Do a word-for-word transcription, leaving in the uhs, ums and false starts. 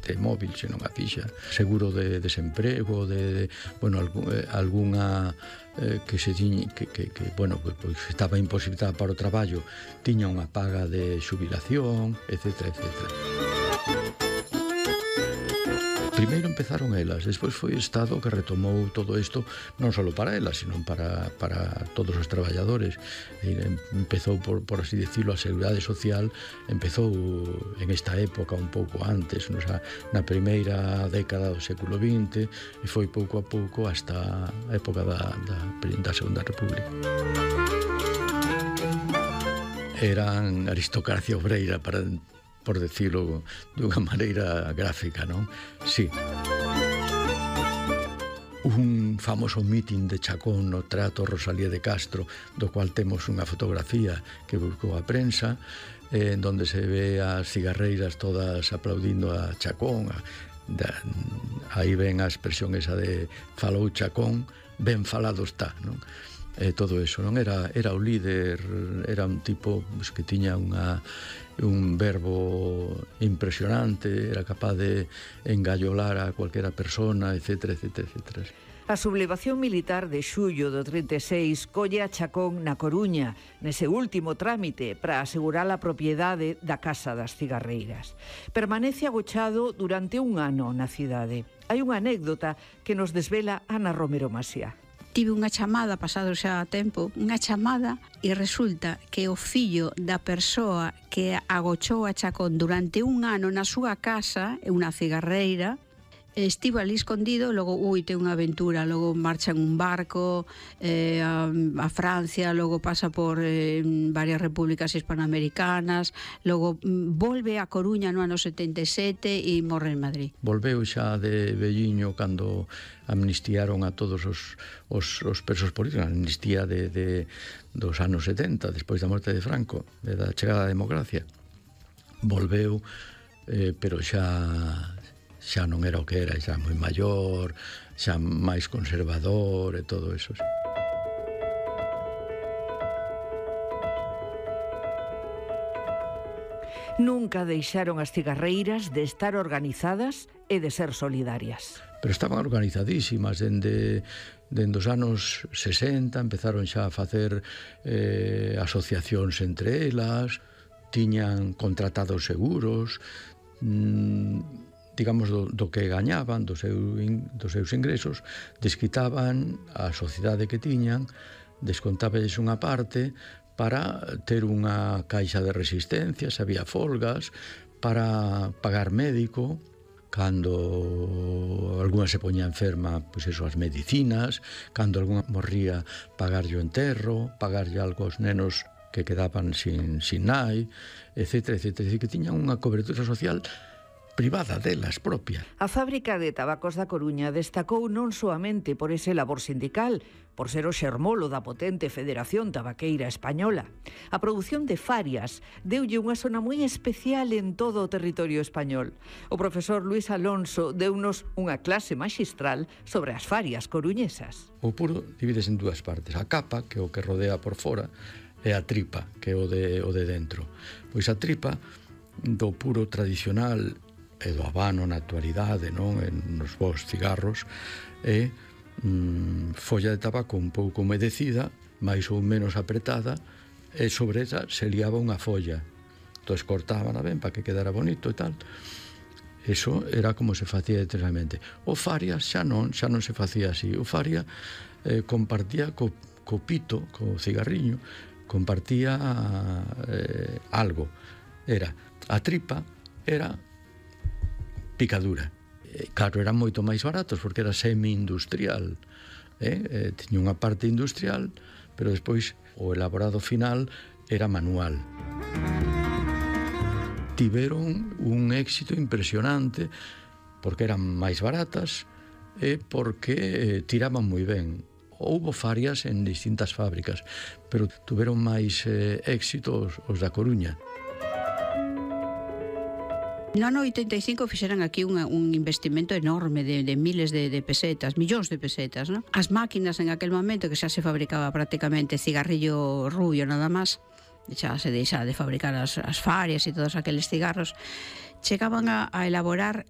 solamente móvil, senón a fixa, seguro de desemprego, de, de bueno, algún, eh, algunha eh, que se tiña, que, que, que bueno, que, pues, estaba imposibilitada para o traballo, tiña unha paga de xubilación, etcétera, etcétera. Primeiro empezaron elas, despois foi o Estado que retomou todo isto, non só para elas, sino para, para todos os traballadores. Empezou, por, por así decirlo, a Seguridade Social, empezou en esta época un pouco antes, no, xa, na primeira década do século vinte, e foi pouco a pouco hasta a época da, da, da Segunda República. Eran aristocracia obreira, para por decirlo dunha maneira gráfica, non? Sí. Un famoso mitin de Chacón no Teatro Rosalía de Castro, do cual temos unha fotografía que buscou a prensa, eh, en donde se ve as cigarreiras todas aplaudindo a Chacón. A, da, aí ven a expresión esa de falou Chacón, ben falado está, non? Eh, todo eso, non? Era, era o líder, era un tipo pues, que tiña unha, un verbo impresionante, era capaz de engallolar a cualquera persona, etcétera, etcétera, etcétera. A sublevación militar de xullo do trinta e seis colle a Chacón na Coruña, nese último trámite para asegurar a propiedade da Casa das Cigarreiras. Permanece agochado durante un ano na cidade. Hai unha anécdota que nos desvela Ana Romero Masía. Tive unha chamada, pasado xa tempo, unha chamada e resulta que o fillo da persoa que agochou a Chacón durante un ano na súa casa, unha cigarreira, estivo ali escondido, logo, ui, ten unha aventura, logo marcha en un barco eh, a, a Francia, logo pasa por eh, varias repúblicas hispanoamericanas, logo volve a Coruña no ano setenta e sete e morre en Madrid. Volveu xa de velliño cando amnistiaron a todos os, os, os presos políticos, a amnistía de, de, dos anos setenta, despois da morte de Franco, de da chegada da democracia. Volveu, eh, pero xa xa non era o que era, xa moi maior, xa máis conservador e todo eso. Nunca deixaron as cigarreiras de estar organizadas e de ser solidarias. Pero estaban organizadísimas, dende, dende os anos sesenta, empezaron xa a facer eh, asociacións entre elas, tiñan contratados seguros, mmm, digamos, do, do que gañaban, do seu, dos seus ingresos, desquitaban a sociedade que tiñan, descontábales unha parte para ter unha caixa de resistencia, se había folgas, para pagar médico, cando alguna se poñía enferma, pois eso, as medicinas, cando alguna morría, pagarlle o enterro, pagarlle algo aos nenos que quedaban sin, sin nai, etcétera, etcétera, que tiñan unha cobertura social privada delas propia. A fábrica de tabacos da Coruña destacou non soamente por ese labor sindical, por ser o xermolo da potente Federación Tabaqueira Española. A produción de farias deulle unha zona moi especial en todo o territorio español. O profesor Luis Alonso deunos unha clase maxistral sobre as farias coruñesas. O puro divides en dúas partes. A capa, que é o que rodea por fora, e a tripa, que é o de, o de dentro. Pois a tripa do puro tradicional e do habano na actualidade, non? En nos vos cigarros, e mm, folla de tabaco un pouco humedecida, máis ou menos apretada, e sobre esa se liaba unha folla. Entón cortaban ben para que quedara bonito e tal. Eso era como se facía tradicionalmente. O faria xa non, xa non se facía así. O faria eh, compartía co, co pito, co cigarriño, compartía eh, algo. Era a tripa, era picadura. Claro, eran moito máis baratos porque era semi-industrial, eh? Eh, tiña unha parte industrial, pero despois o elaborado final era manual. Tiveron un éxito impresionante porque eran máis baratas e porque eh, tiraban moi ben. Houbo farias en distintas fábricas, pero tuveron máis eh, éxito os, os da Coruña. No ano oitenta e cinco fixeran aquí unha, un investimento enorme de, de miles de, de pesetas, millóns de pesetas, ¿no? As máquinas en aquel momento, que xa se fabricaba prácticamente cigarrillo rubio nada máis, xa se deixa de fabricar as, as farias e todos aqueles cigarros, chegaban a, a elaborar